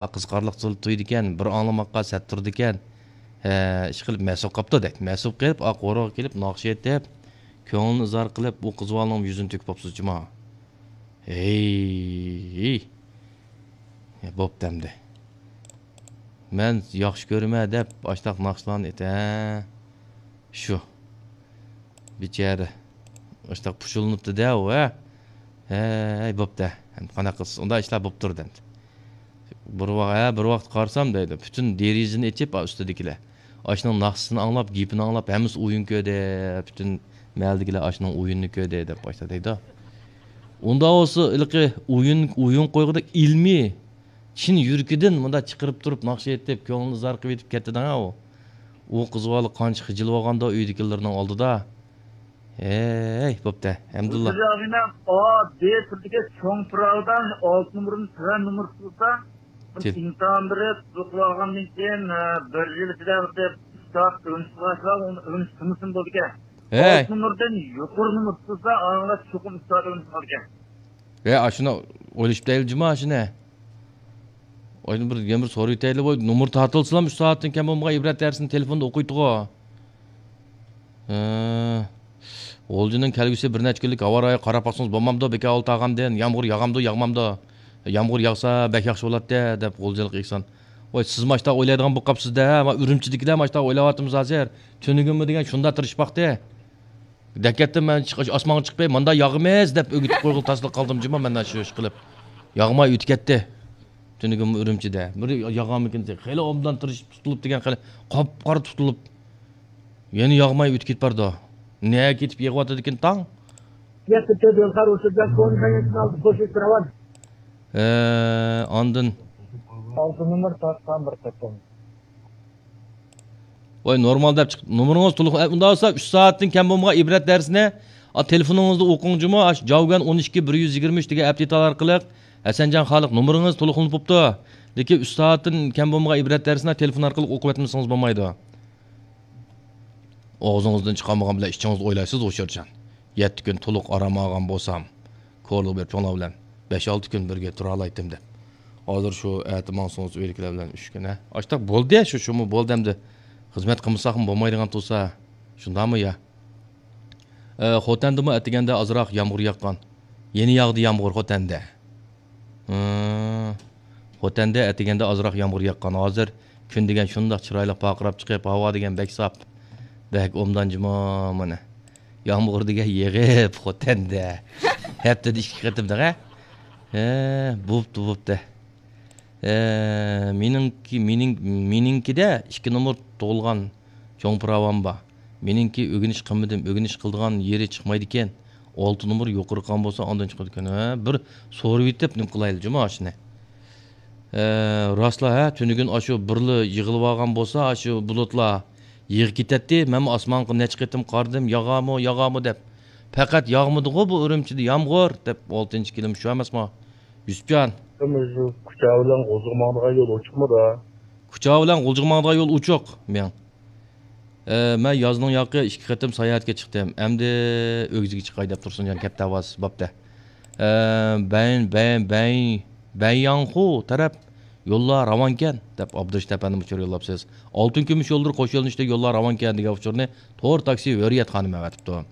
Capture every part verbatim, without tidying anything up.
قىزىقارلىق تۇيىدىكەن، بىر ئاڭلىماققا سەت تۇرىدىكەن. ھە، ئىشقىلىپ مەسۇپ قاپتۇ دەيدۇ. مەسۇپ قېلىپ، ئا قورۇغا كېلىپ ناخشا ئېيتىپ، كۆڭلىنى ئىزھار قىلىپ، ئۇ قىز بالىنىڭ يۈزىنى تۆكۈپ قاپسىز جۇما. ھەي، ھەي. يا، بوپتۇ ئەمدى. مەن ياخشى كۆرىمەن دەپ ئاشتاق ناخشىلارنى ئېيت، ھە. شۇ. بىچارە. ئاشتاق پۇشۇلۇنۇپتۇ-دە ئۇ، ھە. ھەي، بوپتۇ. ئەمدى قانداق قىلسىز؟ ئۇنداق ئىشلار بوپ تۇرىدۇ ئەمدى. بىر ۋاق-، ھە، بىر ۋاقىت قارىسام دەيدۇ، پۈتۈن دېرىزىنى ئېچىپ، ئا، ئۈستىدىكىلەر ئاشۇنىڭ ناخشىسىنى ئاڭلاپ، گېپىنى ئاڭلاپ، ھەممىسى ئويۇن كۆردى، پۈتۈن مەھەللىدىكىلەر ئاشۇنىڭ ئويۇنىنى كۆردى دەپ باشتا دەيدۇ. ئۇنداق بولسا، ھېلىقى ئويۇن، ئويۇن قويغۇدەك ئىلمىي، چىن يۈرىكىدىن مۇنداق چىقىرىپ تۇرۇپ، ناخشا ئېيتىپ، كۆڭلىنى ئىزھار قىلىۋېتىپ كەتتىدىڭ-ھە ئۇ. ئۇ قىز بالا قانچە خىجىل بولغاندۇ ئۆيدىكىلىرىنىڭ ئالدىدا. ھەي، بوپتۇ، ھەمدۇللا. ئا، بى تۈردىكى چوڭ پىراۋىدا ئالتە نومۇرنى تۆۋەن نومۇر تۇتسا، بىر تىل. ئىمتىھان بېرىپ، تۇتۇپ ئالغاندىن كېيىن، ئە، بىر يىل ئىچىدە بىر ئۈچ سائەت ئۆگىنىش قىلسا، ئۇنى ئۆگىنىش تۇرمىسىمۇ بولىدىكەن. ھەي. ئالتە نومۇردىن يۇقىرى نومۇر تۇتسا، ئاڭلاش چوقۇم ئۈچ سائەت ئۆگىنىش قىلىدىكەن. ھەي، ئاشۇنى ئويلىشىپ دەيلى جۇما، ئاشۇنى. ئايدىن بىر، يەنە بىر سورىۋېتەيلى، بۇ نومۇر تارتىلسىلا، ئۈچ سائەتتىن كەم بولمىغان ئىبرەت دەرسىنى تېلېفوندا ئوقۇيتتىغۇ. ھە. غۇلجىنىڭ كەلگۈسى بىر نەچچە كۈنلۈك ھاۋا رايىغا قاراپ باقسىڭىز بولمامدۇ، بىكار ئولتۇرغاندىن، يامغۇر ياغامدۇ، ياغمامدۇ؟ يامغۇر ياغسا بەك ياخشى بولاتتى، دەپ غۇلجىلىق ئېھسان. ۋاي، سىز ماشتا ئويلايدىغان بولۇپ قاپسىز-دە، ما ئۈرۈمچىدىكىلەر ماشتا ئويلاۋاتىمىز ھازىر. تۈنۈگۈنمۇ دېگەن شۇنداق تىرىشىپ باقتى. دەكەتتىن مەن چىق-، ئاسمانغا چىقىپ، ماندا ياغىمىز دەپ ئۆگىتىپ قويغىلى تاسلا قالدىم جۇما، مەن شۇ ئىش قىلىپ. ياغماي ئۆتۈپ كەتتى. تۈنۈگۈنمۇ ئۈرۈمچىدە. بىر ياغامىكىن، خېلى ئوبدان تىرىشىپ تۇتۇلۇپ دېگەن، خېلى قاپقارا تۇتۇلۇپ. يەنە ياغماي ئۆتۈپ كېتىپ بارىدۇ. نەگە كېتىپ يېغىۋاتىدىكىن تاڭ؟ يەتتە تۆت يول قار ئۇچۇردا كونفېرېنسنى ئالدى، خوش ئېيتتىراۋان. ئە، ئاندىن. ئالتە نومۇر تارتقان بىر قېتىم. ۋاي، نورمال دەپ چىقىپ، نومۇرىڭىز تولۇق، ئە، ئۇنداق بولسا، ئۈچ سائەتتىن كەم بولمىغان ئىبرەت دەرسىنى، ئا، تېلېفونىڭىزدا ئوقۇڭ جۇمۇ، ئاشۇ جاۋگەن ئون ئىككى بىر يۈز يىگىرمە ئۈچ دېگەن ئەپلىكاتور ئارقىلىق، ھەسەنجان خالىق، نومۇرىڭىز تولۇقلىنىپ بوپتۇ. لېكىن ئۈچ سائەتتىن كەم بولمىغان ئىبرەت دەرسىنى تېلېفون ئارقىلىق ئوقۇۋەتمىسىڭىز بولمايدۇ. ئاغزىڭىزدىن چىقارمىغان بىلەن ئىچىڭىزدە ئويلايسىز، ھوشيارجان. يەتتە كۈن تولۇق ئارام ئالغان بولسام، كورلا بېرىپ چوڭلار بىلەن بەش-ئالتە كۈن بىرگە تۇرالايتتىم دەپ. ھازىر شۇ ئەتە ماڭسىڭىز ئۆيدىكىلەر بىلەن ئۈچ كۈن، ھە؟ ئاشتاق بولدى، شۇ، شۇمۇ بولدى ئەمدى. خىزمەت قىلمىساقمۇ بولمايدىغان تۇرسا، شۇنداقمۇ يا؟ ئە، خوتەندىمۇ ئەتىگەندە ئازراق يامغۇر ياغقان. يەنە ياغدى يامغۇر خوتەندە. ھىم. خوتەندە ئەتىگەندە ئازراق يامغۇر ياغقان. ھازىر كۈن دېگەن شۇنداق چىرايلىق پارقىراپ چىقىپ، ھاۋا دېگەن بەك ساپ. بەك ئوبدان جۇمۇ مانا. يامغۇر دېگەن يېغىپ خوتەندە. ھەپتىدە ئىككى قېتىم دەڭە. ھە، بوپتۇ، بوپتۇ. ھە، مېنىڭكى، مېنىڭ، مېنىڭكىدە ئىككى نومۇر تۇغۇلغان چوڭ پىراۋام بار. مېنىڭكى ئۆگىنىش قىلمىدىم، ئۆگىنىش قىلىدىغان يېرى چىقمايدىكەن. ئالتە نومۇر يۇقىرى قىلغان بولسا، ئاندىن چىقىدىكەن. ھە، بىر سورىۋېتىپ نېمە قىلايلى جۇمۇ ئاشۇنى. ھە، راستلا، ھە، تۈنۈگۈن ئاشۇ بىرلا يىغىلىۋالغان بولسا، ئاشۇ بۇلۇتلار يىغىپ كېتەتتى. مەنمۇ ئاسمانغا نەچچە قېتىم قارىدىم، ياغامۇ، ياغامۇ دەپ. پەقەت ياغمىدىغۇ بۇ ئۈرۈمچىدە يامغۇر دەپ، ئالتىنچى كېلىم شۇ ئەمەسمۇ؟ يۈسۈپجان. كۇچا بىلەن غۇلجىغا ماڭىدىغان يول ئوچۇقمۇ دا؟ كۇچا بىلەن غۇلجىغا ماڭىدىغان يول ئوچۇق، مېڭ. ئە، مەن يازنىڭ ياقى ئىككى قېتىم ساياھەتكە چىقتىم. ئەمدى ئۆگزىگە چىقاي دەپ تۇرسۇنجان كەپتە ئاۋاز بوپتە. ئە، بەن، بەن، بەن، بەنياڭخۇ تەرەپ يوللار راۋانكەن دەپ ئابدۇرېشىت ئەپەندىم ئۇچۇر يوللاپسىز. ئالتۇن كۈمۈش يوللىرى قوش يۆنىلىشتە يوللار راۋانكەن دېگەن ئۇچۇرنى تور تاكسى ھۆرىيەت خانىم ئەۋەتىپتۇ.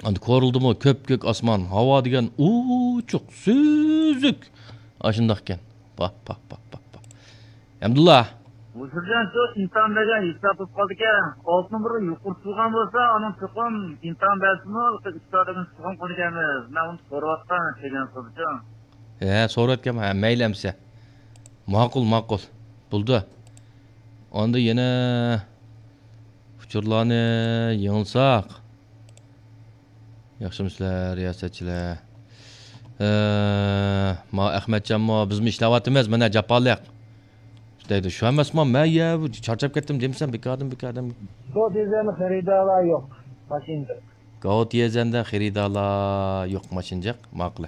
ئەمدى كورلىدىمۇ كۆپكۆك ئاسمان، ھاۋا دېگەن ئوچۇق، سۈزۈك. ئاشۇنداقكەن. پاھ، پاھ، پاھ، پاھ، پاھ. ھەمدۇللا. مۇشۇرجان شۇ ئىمتىھان بەرگەن ھېساب بولۇپ قالدىكەن. ئالتە نومۇرغا يۇقىرى تۇرغان بولسا، ئانىڭ چوقۇم ئىمتىھان بەرسىمۇ، ئۈستادىمىز چوقۇم قىلىدىكەنمىز. مەن ئۇنى سورىۋاتقان، كەلگەن سورىدىچۇ. ھە، سورىۋەتكەن، ھە، مەيلى ئەمسە. ماقۇل، ماقۇل. بولدى. ئاندىن يەنە ئۇچۇرلارنى يېڭىلساق. ياخشىمۇسىلەر، رىياسەتچىلەر؟ ئە، ما ئەخمەتجانمۇ، بىزمۇ ئىشلەۋاتىمىز، مانا جاپالىق. دەيدۇ، شۇ ئەمەسمۇ، مەن يە چارچاپ كەتتىم دېمىسەم، بىكاردىن، بىكاردىن. گاۋا تيەنزەندە خېرىدارلار يوق، ماشىنىدا. گاۋا تيەنزەندە خېرىدارلار يوق، ماشىنا جىق، ماقۇل.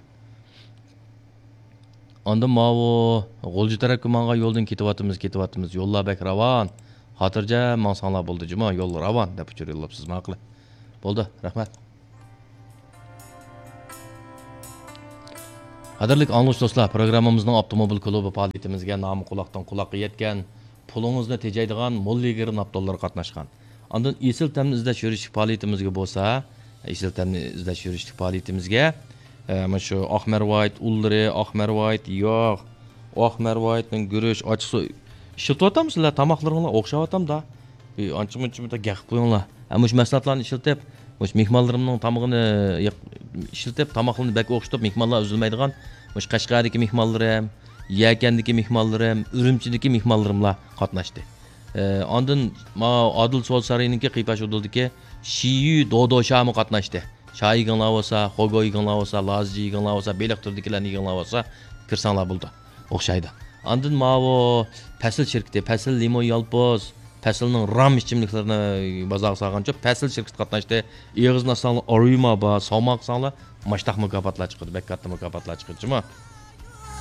ئاندىن ماۋۇ غۇلجا تەرەپكە ماڭغان يولدىن كېتىۋاتىمىز، كېتىۋاتىمىز. يوللار بەك راۋان. خاتىرجەم ماڭساڭلار بولدى، جۇما، يول راۋان، دەپ ئۇچۇر يوللاپسىز، ماقۇل. بولدى، رەھمەت. قەدىرلىك ئاڭلىغۇچى دوستلار، پروگراممىمىزنىڭ ئاپتوموبىل كۇلۇبى پائالىيىتىمىزگە نامى قۇلاقتىن قۇلاققا يەتكەن، پۇلىڭىزنى تېجەيدىغان مول يېگىرى ناپتونلىرى قاتناشقان. ئاندىن ئېسىل تەمنى ئىزدەش يۈرۈشلۈك پائالىيىتىمىزگە بولسا، ئېسىل تەمنى ئىزدەش يۈرۈشلۈك پائالىيىتىمىزگە، ئە، مانا شۇ ئاق مەرۋايىت ئۇنلىرى، ئاق مەرۋايىت ياغ، ئاق مەرۋايىتنىڭ گۈرۈچ، ئاچچىقسۇ ئىشلىتىۋاتامسىلەر؟ تاماقلىرىڭلار ئوخشاۋاتامدا؟ ئى، ئانچە-مۇنچە بىر گەپ قىلىپ قويۇڭلار. ھە، مۇشۇ مەھسۇلاتلارنى ئىشلىتىپ، مۇشۇ مېھمانلىرىمنىڭ تامىقىنى ياق-، ئىشلىتىپ، تاماقلىرىنى بەك ئوخشىتىپ، مېھمانلار ئۈزۈلمەيدىغان، مۇشۇ قەشقەردىكى مېھمانلىرىم، يەكەندىكى مېھمانلىرىم، ئۈرۈمچىدىكى مېھمانلىرىملار قاتناشتى. ئى، ئاندىن ما ئادىل سودا سارىيىنىڭكى قىيپاش ئۇدۇلدىكى شىيۈ دودوشامۇ قاتناشتى. شاي يېگىڭلار بولسا، خوگو يېگىڭلار بولسا، لازىجى يېگىڭلار بولسا، بېلىق تۈرىدىكىلەرنى يېگىڭلار بولسا، كىرسەڭلار بولىدۇ. ئوخشايدۇ. ئاندىن ماۋۇ پەسىل شىركىتى، پەسىل لىمون يالپۇز، پەسىلنىڭ رام ئىچىملىكلىرىنى بازارغا سالغانچۇ، پەسىل شىركىتى قاتناشتى. ئېغىزنى ئاچساڭلار ئاريۇما بار، سالماق قىلساڭلار ماشتاق مۇكاپاتلار چىقىدۇ، بەك كاتتا مۇكاپاتلار چىقىدۇ جۇمۇ.